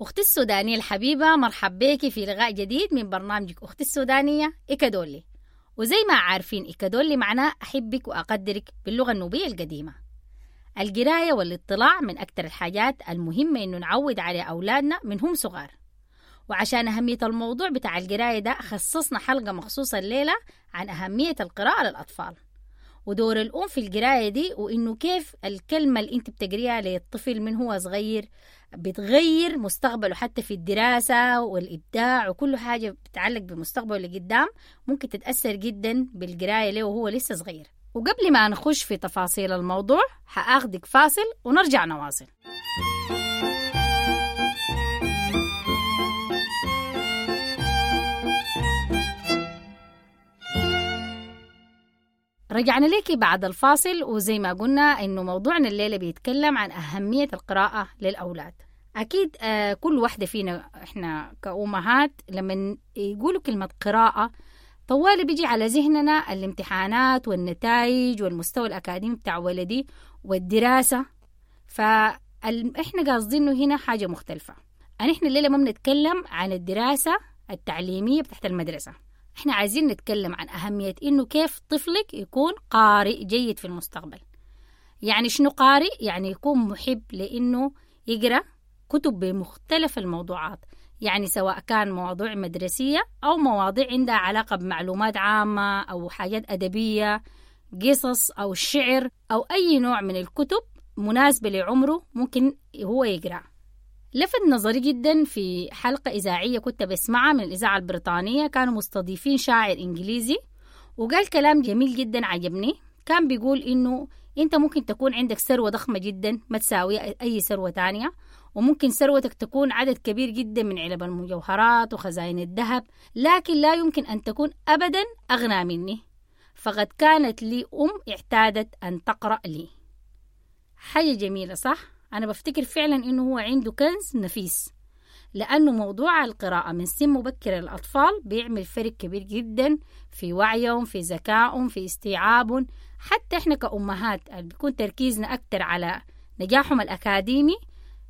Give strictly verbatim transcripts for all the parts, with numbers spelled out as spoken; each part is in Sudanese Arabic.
أختي السودانية الحبيبة، مرحب بيكي في لقاء جديد من برنامجك أختي السودانية إكادولي. وزي ما عارفين إكادولي معناه أحبك وأقدرك باللغة النوبية القديمة. القراية والاطلاع من أكثر الحاجات المهمة إنه نعود على أولادنا من هم صغار. وعشان أهمية الموضوع بتاع القراية ده خصصنا حلقة مخصوصة الليلة عن أهمية القراءة للأطفال ودور الأم في القراية دي، وإنه كيف الكلمة اللي أنت بتقريها للطفل من هو صغير بتغير مستقبله حتى في الدراسة والإبداع وكل حاجة بتتعلق بمستقبله اللي قدام ممكن تتأثر جدا بالقراية له وهو لسه صغير. وقبل ما نخش في تفاصيل الموضوع هآخدك فاصل ونرجع نواصل. رجعنا لك بعد الفاصل، وزي ما قلنا إنه موضوعنا الليلة بيتكلم عن أهمية القراءة للأولاد. أكيد آه كل واحدة فينا إحنا كأمهات لما يقولوا كلمة قراءة طوال بيجي على ذهننا الامتحانات والنتائج والمستوى الأكاديمي بتاع ولدي والدراسة، فإحنا قاصدينه هنا حاجة مختلفة. إحنا الليلة ما بنتكلم عن الدراسة التعليمية بتاعت المدرسة، احنا عايزين نتكلم عن أهمية إنه كيف طفلك يكون قارئ جيد في المستقبل. يعني شنو قارئ؟ يعني يكون محب لإنه يقرأ كتب بمختلف الموضوعات، يعني سواء كان مواضيع مدرسية أو مواضيع عندها علاقة بمعلومات عامة أو حاجات أدبية، قصص أو شعر أو أي نوع من الكتب مناسبة لعمره ممكن هو يقرأ. لفت نظري جدا في حلقة إذاعية كنت بسمعها من الإذاعة البريطانية، كانوا مستضيفين شاعر إنجليزي وقال كلام جميل جدا عجبني. كان بيقول إنه أنت ممكن تكون عندك ثروة ضخمة جدا ما تساوي أي ثروة تانية، وممكن ثروتك تكون عدد كبير جدا من علب المجوهرات وخزائن الذهب، لكن لا يمكن أن تكون أبدا أغنى مني، فقد كانت لي أم اعتادت أن تقرأ لي. حاجة جميلة صح؟ أنا بفتكر فعلا إنه هو عنده كنز نفيس، لأنه موضوع القراءة من سن مبكر للأطفال بيعمل فرق كبير جدا في وعيهم، في ذكائهم، في استيعابهم. حتى إحنا كأمهات بيكون تركيزنا أكتر على نجاحهم الأكاديمي.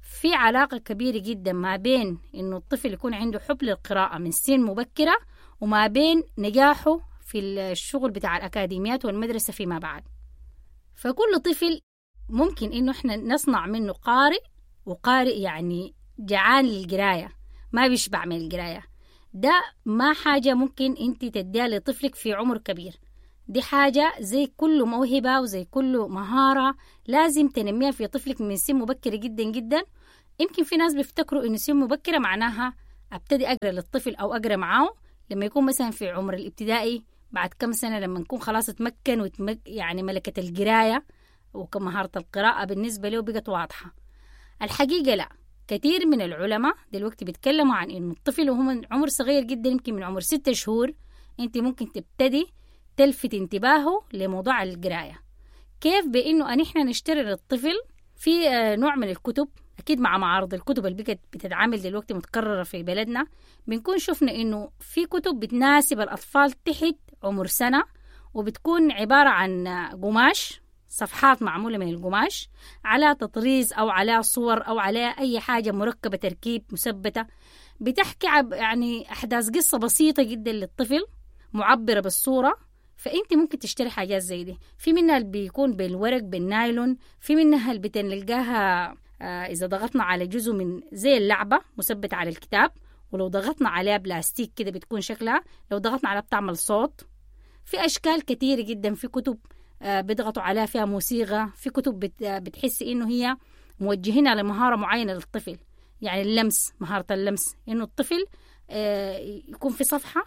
في علاقة كبيرة جدا ما بين إنه الطفل يكون عنده حب للقراءة من سن مبكرة وما بين نجاحه في الشغل بتاع الأكاديميات والمدرسة فيما بعد. فكل طفل ممكن إنه إحنا نصنع منه قارئ، وقارئ يعني جعان للقراية، ما بيشبع من القراية. ده ما حاجة ممكن أنت تديها لطفلك في عمر كبير، دي حاجة زي كل موهبة وزي كل مهارة لازم تنميها في طفلك من سن مبكرة جدا جدا. يمكن في ناس بيفتكروا إنه سن مبكرة معناها أبتدي أقرأ للطفل أو أقرأ معاه لما يكون مثلا في عمر الابتدائي، بعد كم سنة لما نكون خلاص اتمكن وتمك يعني ملكة القراية وكمهارة القراءة بالنسبة له بقت واضحة. الحقيقة لا، كثير من العلماء دلوقتي بيتكلموا عن إنه الطفل وهو من عمر صغير جدا، يمكن من عمر ستة شهور، أنت ممكن تبتدي تلفت انتباهه لموضوع القراية. كيف؟ بإنه أن إحنا نشتري للطفل في نوع من الكتب، أكيد مع معارض الكتب اللي بقت بتتعامل دلوقتي متكررة في بلدنا، بنكون شفنا إنه في كتب بتناسب الأطفال تحت عمر سنة، وبتكون عبارة عن قماش، صفحات معمولة من القماش على تطريز أو على صور أو على أي حاجة مركبة تركيب مثبتة، بتحكي يعني أحداث قصة بسيطة جدا للطفل معبرة بالصورة. فأنت ممكن تشتري حاجات زي دي، في منها اللي بيكون بالورق بالنايلون، في منها اللي بتلقاها إذا ضغطنا على جزء من زي اللعبة مثبتة على الكتاب، ولو ضغطنا عليها بلاستيك كده بتكون شكلها، لو ضغطنا عليها بتعمل صوت. في أشكال كتيرة جدا، في كتب بيضغطوا عليها فيها موسيقى، في كتب بتحس إنه هي موجهينها لمهارة معينة للطفل، يعني اللمس، مهارة اللمس، إنه الطفل يكون في صفحة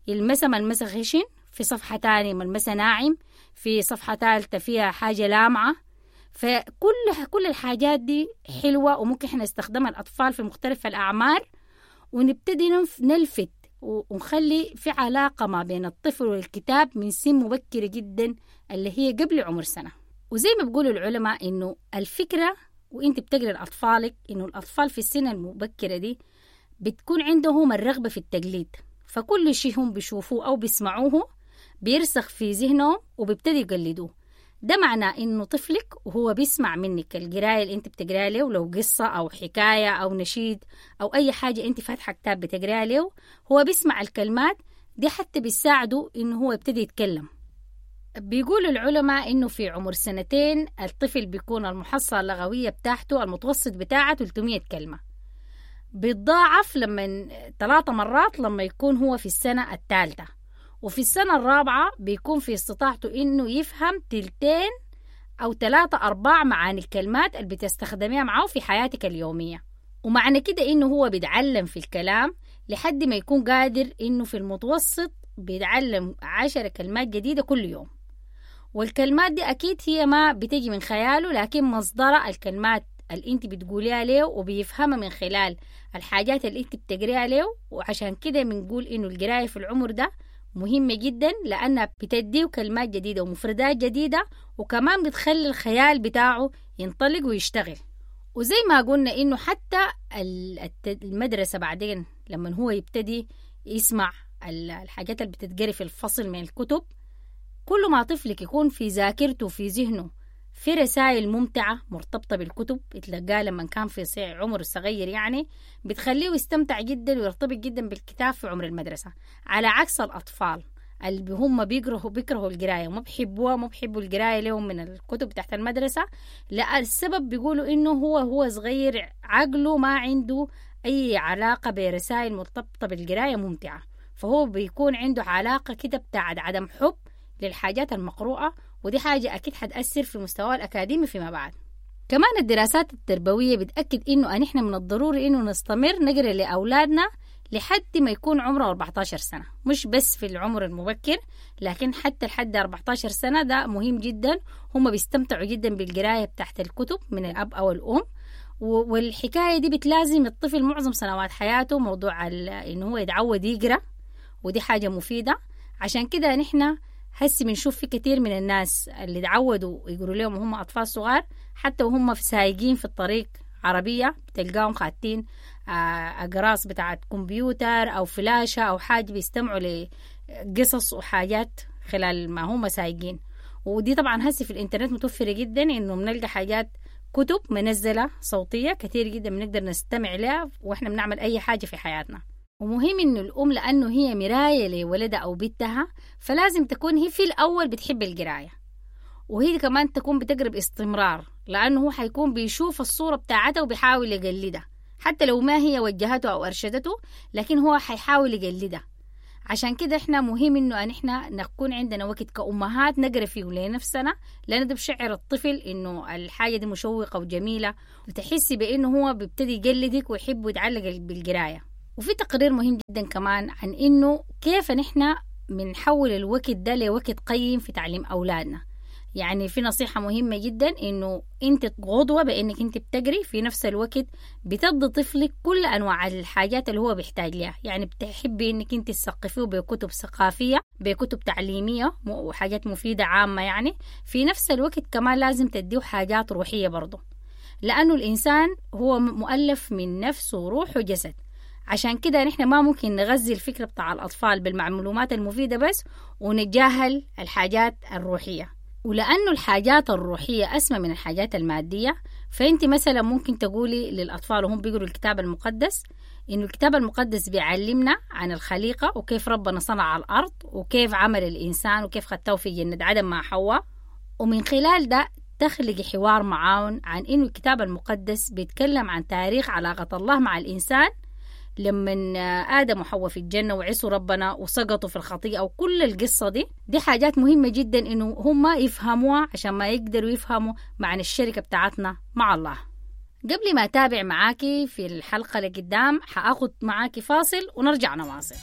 يلمسها ملمسها خشن، في صفحة تانية ملمسها ناعم، في صفحة ثالثة فيها حاجة لامعة. فكل كل الحاجات دي حلوة وممكن إحنا نستخدمها الأطفال في مختلف الأعمار، ونبتدي نلفت ونخلي في علاقة ما بين الطفل والكتاب من سن مبكرة جدا اللي هي قبل عمر سنة. وزي ما بيقولوا العلماء إنه الفكرة وإنت بتقرأ لأطفالك إنه الأطفال في السنة المبكرة دي بتكون عندهم الرغبة في التقليد، فكل شيء هم بيشوفوه أو بيسمعوه بيرسخ في ذهنهم وبيبتدي يقلدوه. ده معناه إنه طفلك وهو بيسمع منك القراية اللي أنت بتقراها له، لو قصة أو حكاية أو نشيد أو أي حاجة أنت فاتحة كتاب بتقراها له، هو بيسمع الكلمات دي حتى بيساعده إنه هو يبتدي يتكلم. بيقول العلماء إنه في عمر سنتين الطفل بيكون المحصلة اللغوية بتاعته المتوسط بتاعه ثلاثمية كلمة، بيتضاعف لما ثلاثة مرات لما يكون هو في السنة الثالثة، وفي السنة الرابعة بيكون في استطاعته إنه يفهم تلتين أو ثلاثة أرباع معاني الكلمات اللي بتستخدميها معه في حياتك اليومية. ومعنى كده إنه هو بيتعلم في الكلام لحد ما يكون قادر إنه في المتوسط بيتعلم عشر كلمات جديدة كل يوم. والكلمات دي أكيد هي ما بتجي من خياله، لكن مصدرها الكلمات اللي انت بتقوليها له وبيفهمها من خلال الحاجات اللي انت بتقريها له. وعشان كده بنقول إنه القراية في العمر ده مهمة جدا، لأنها بتديه كلمات جديدة ومفردات جديدة، وكمان بتخلي الخيال بتاعه ينطلق ويشتغل. وزي ما قلنا إنه حتى المدرسة بعدين لما هو يبتدي يسمع الحاجات اللي بتتقري في الفصل من الكتب، كل ما طفلك يكون في ذاكرته وفي ذهنه في رسائل ممتعة مرتبطة بالكتب يتلقاها لما كان في عمره الصغير، يعني بتخليه يستمتع جدا ويرتبط جدا بالكتاب في عمر المدرسة، على عكس الأطفال اللي هم بيكرهوا بيكرهوا القراية وما بيحبوها، ما بيحبوا القراية لهم من الكتب تحت المدرسة. لا، السبب بيقولوا إنه هو هو صغير عقله ما عنده أي علاقة برسائل مرتبطة بالقراية ممتعة، فهو بيكون عنده علاقة كده بتاعت عدم حب للحاجات المقروءة، ودي حاجة أكيد حتأثر في مستواه الأكاديمي فيما بعد. كمان الدراسات التربوية بتأكد إنه نحن من الضروري إنه نستمر نقرأ لأولادنا لحد ما يكون عمره أربعة عشر سنة، مش بس في العمر المبكر، لكن حتى لحد أربعة عشر سنة ده مهم جدا. هم بيستمتعوا جدا بالقراية بتاعت الكتب من الأب أو الأم، والحكاية دي بتلازم الطفل معظم سنوات حياته، موضوع إنه هو يتعود يقرأ، ودي حاجة مفيدة. عشان كده نحن هسي بنشوف في كثير من الناس اللي تعودوا يقولوا لهم وهم أطفال صغار، حتى وهم في سايقين في الطريق عربية بتلقاهم خاتين أقراص بتاعت كمبيوتر أو فلاشة أو حاجة، بيستمعوا لقصص وحاجات خلال ما هم سايقين. ودي طبعا هسي في الإنترنت متوفرة جدا، إنه بنلقى حاجات كتب منزلة صوتية كثير جدا بنقدر نستمع لها وإحنا بنعمل أي حاجة في حياتنا. ومهم إنه الأم لأنه هي مراية لولدها أو بنتها، فلازم تكون هي في الأول بتحب القراية، وهي كمان تكون بتقرأ باستمرار، لأنه هو حيكون بيشوف الصورة بتاعتها وبيحاول يقلدها، حتى لو ما هي وجهته أو أرشدته، لكن هو حيحاول يقلدها. عشان كده إحنا مهم إنه إحنا نكون عندنا وقت كأمهات نقرأ فيه لنفسنا، لأن ده بشعر الطفل إنه الحاجة دي مشوقة وجميلة، وتحسي بإنه هو بيبتدي يقلدك ويحب ويتعلق بالقراية. وفي تقرير مهم جدا كمان عن إنه كيف نحن بنحول الوقت ده لوقت قيم في تعليم أولادنا. يعني في نصيحة مهمة جدا إنه أنت قدوة بإنك أنت بتقري، في نفس الوقت بتدي طفلك كل أنواع الحاجات اللي هو بيحتاج لها. يعني بتحبي إنك أنت تثقفيه بكتب ثقافية، بكتب تعليمية وحاجات مفيدة عامة، يعني في نفس الوقت كمان لازم تديه حاجات روحية برضه، لأنه الإنسان هو مؤلف من نفس وروح وجسد. عشان كده نحن ما ممكن نغذي الفكرة بتاع الأطفال بالمعلومات المفيدة بس ونتجاهل الحاجات الروحية. ولأنه الحاجات الروحية أسمى من الحاجات المادية، فأنت مثلا ممكن تقولي للأطفال وهم بيقروا الكتاب المقدس إنه الكتاب المقدس بيعلمنا عن الخليقة وكيف ربنا صنع الأرض وكيف عمل الإنسان وكيف خدته في جنة عدن مع حواء، ومن خلال ده تخلق حوار معاون عن إنه الكتاب المقدس بيتكلم عن تاريخ علاقة الله مع الإنسان لما آدم وحواء في الجنة وعصوا ربنا وسقطوا في الخطيئة وكل القصة دي. دي حاجات مهمة جدا إنه هم يفهموها عشان ما يقدروا يفهموا معنى الشركة بتاعتنا مع الله. قبل ما أتابع معاكي في الحلقة اللي قدام حأخد معاكي فاصل ونرجع نواصل.